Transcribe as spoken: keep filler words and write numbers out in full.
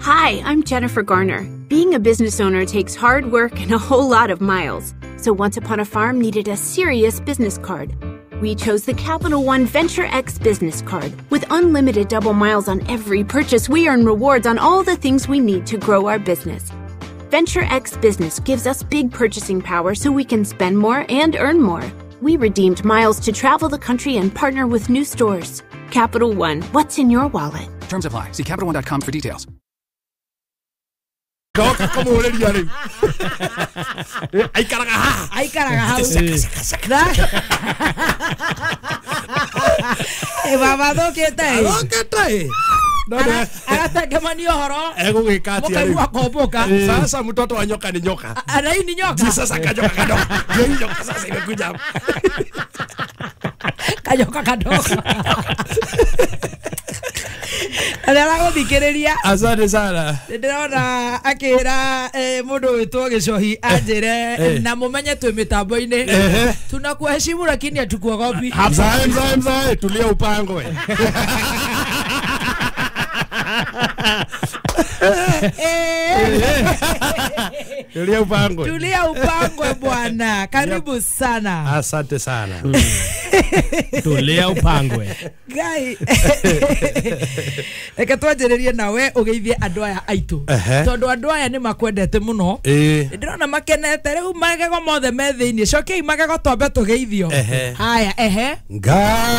Hi, I'm Jennifer Garner. Being a business owner takes hard work and a whole lot of miles. So Once Upon a Farm needed a serious business card. We chose the Capital One Venture X business card. With unlimited double miles on every purchase, we earn rewards on all the things we need to grow our business. Venture X Business gives us big purchasing power so we can spend more and earn more. We redeemed miles to travel the country and partner with new stores. Capital One, what's in your wallet? Terms apply. See Capital One dot com for details. Goka kũmũrĩria rĩu. Aikaraga haha. Aikaraga hau. Baba thũkĩte ĩ. Thũkĩte ĩ. Agatengemania ũhoro. Egũgĩka atĩa rĩu? Mũkaigua komboka. Sasa mtoto wa nyoka ni nyoka. Na hii ni nyoka. Sasa kanyoka kadogo. Ndio hii nyoka sasa imekuja hapa. Kanyoka kadogo. Arĩa aragũthikĩrĩria. Asante sana. Ndĩrona akĩra mũndũ wĩtwo Gĩcohi anjĩre na mũmenye twĩ mĩtambo-inĩ. Tunakuheshimu lakini hatukuogopi. Mzae mzae mzae tulia upangwe. Tulia upangwe. Tulia upangwe bwana. Karibu sana. Asante sana. Tulia upangwe. Ngai. Reke twanjĩrĩrie nawe ũgeithie andũ aya aitũ. Tondũ andũ aya nĩ makwendete mũno. Ndĩrona makenete rĩu magego mothe me thĩinĩ. Cokiai magego twambe tũgeithio. Haya, ehe. Ngai.